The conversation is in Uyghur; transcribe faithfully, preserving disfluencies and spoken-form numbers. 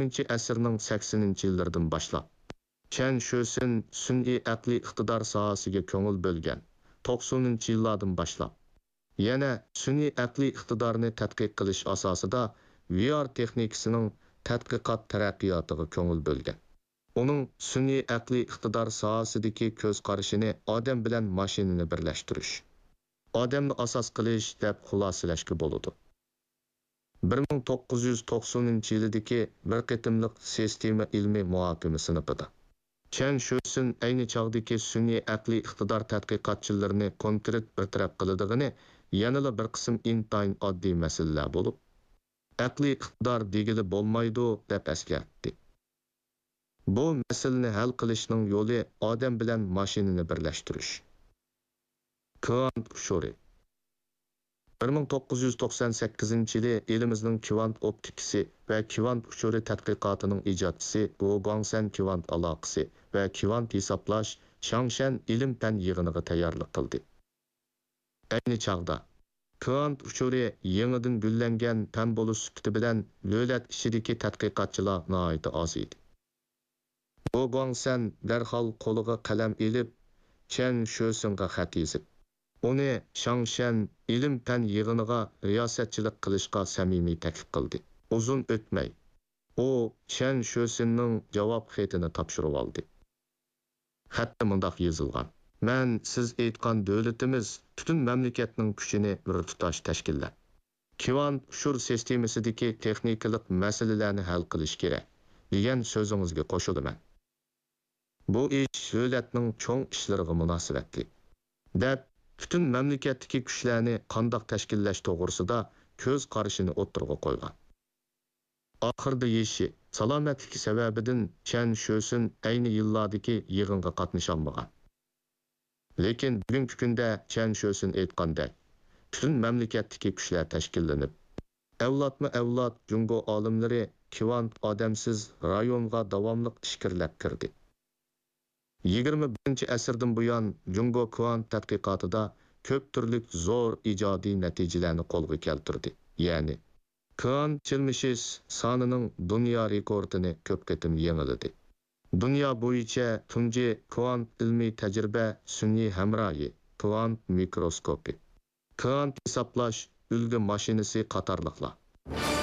ئوتتۇزىنچى ئەسىرنىڭ سەكسىنىنچى يىللىرىدىن باشلاپ، چەن شۆسىن سۈنئىي ئەقلىي ئىقتىدار ساھەسىگە كۆڭۈل بۆلگەن. توقسىنىنچى يىللاردىن باشلاپ، يەنە سۈنئىي ئەقلىي ئىقتىدارنى تەتقىق قىلىش ئاساسىدا ۋي ئار تېخنىكىسىنىڭ تەتقىقات تەرەققىياتىغا كۆڭۈل بۆلگەن. ئۇنىڭ سۈنئىي ئەقلىي ئىقتىدار ساھەسىدىكى كۆز قارىشىنى ئادەم بىلەن ماشىنىنى بىرلەشتۈرۈش، ئادەمنى ئاساس قىلىش دەپ خۇلاسىلەشكە بولىدۇ. بىر مىڭ توققۇز يۈز توقسىنىنچى يىلىدىكى بىر قېتىملىق سىستېما ئىلمىي مۇھاكىمە سىنىپىدا، چەن شۆسۈن ئەينى چاغدىكى سۈنئىي ئەقلىي ئىقتىدار تەتقىقاتچىلىرىنى كونكرېت بىر تەرەپ قىلىدىغىنى، يەنىلا بىر قىسىم ئىنتايىن ئاددىي مەسىلىلەر بولۇپ، ئەقلىي ئىقتىدار دېگىلى بولمايدۇ، دەپ ئەسكەرتتى. بۇ مەسىلىنى ھەل قىلىشنىڭ يولى ئادەم بىلەن ماشىنىنى بىرلەشتۈرۈش. كۋانت ئۇچۇرى. بىر مىڭ توققۇز يۈز توقسان سەككىزىنچى يىلى ئېلىمىزنىڭ كۋانت ئوپتىكىسى ۋە كۋانت ئۇچۇرى تەتقىقاتىنىڭ ئىجادچىسى ۋو گۇاڭسەن كۋانت ئالاقىسى ۋە كۋانت ھېسابلاش شاڭشەن ئىلىم-پەن يىغىنىغا تەييارلىق قىلدى. ئەينى چاغدا، كۋانت ئۇچۇرى يېڭىدىن گۈللەنگەن پەن بولۇش سۈپىتى بىلەن دۆلەت ئىچىدىكى تەتقىقاتچىلار ناھايىتى ئاز ئىدى. بو گۇاڭسەن دەرھال قولىغا قەلەم ئېلىپ، چيەن شۆسىڭغا خەت يېزىپ، ئۇنى شاڭشيەن ئىلىم-پەن يىغىنىغا رىياسەتچىلىك قىلىشقا سەمىمىي تەكلىپ قىلدى. ئۇزۇن ئۆتمەي، ئۇ چيەن شۆسىننىڭ جاۋاب خېتىنى تاپشۇرۇۋالدى. خەتتە مۇنداق يېزىلغان: مەن سىز ئېيتقان دۆلىتىمىز پۈتۈن مەملىكەتنىڭ كۈچىنى بىر تۇتاش تەشكىللەپ، كۋانت ئۇچۇر سىستېمىسىدىكى تېخنىكىلىق مەسىلىلەرنى ھەل قىلىش كېرەك، دېگەن سۆزىڭىزگە قوشۇلىمەن. بۇ ئىش دۆلەتنىڭ چوڭ ئىشلىرىغا مۇناسىۋەتلىك، دەپ، پۈتۈن مەملىكەتتىكى كۈچلەرنى قانداق تەشكىللەش توغرىسىدا كۆز قارىشىنى ئوتتۇرىغا قويغان. ئاخىرىدا يېشى، سالامەتلىكى سەۋەبىدىن چيەن شۆسۈن ئەينى يىللاردىكى يىغىنغا قاتنىشالمىغان. لېكىن بۈگۈنكى كۈندە چيەن شۆسۈن ئېيتقاندەك، پۈتۈن مەملىكەتتىكى كۈچلەر تەشكىللىنىپ، ئەۋلادمۇ ئەۋلاد جۇڭگو ئالىملىرى كۋانت ئادەمسىز رايونغا داۋاملىق ئىچكىرىلەپ كىردى. يىگىرمە بىرىنچى ئەسىردىن بۇيان جۇڭگو كۋانت تەتقىقاتىدا كۆپ تۈرلۈك زور ئىجادىي نەتىجىلەرنى قولغا كەلتۈردى. يەنى، كۋانت چىرمىشىش سانىنىڭ دۇنيا رېكورتىنى كۆپ قېتىم يېڭىلىدى. دۇنيا بويىچە تۇنجى كۋانت ئىلمىي تەجرىبە سۈنئىي ھەمراھى، كۋانت مىكروسكوپى، كۋانت ھېسابلاش ئۈلگە ماشىنىسى قاتارلىقلار.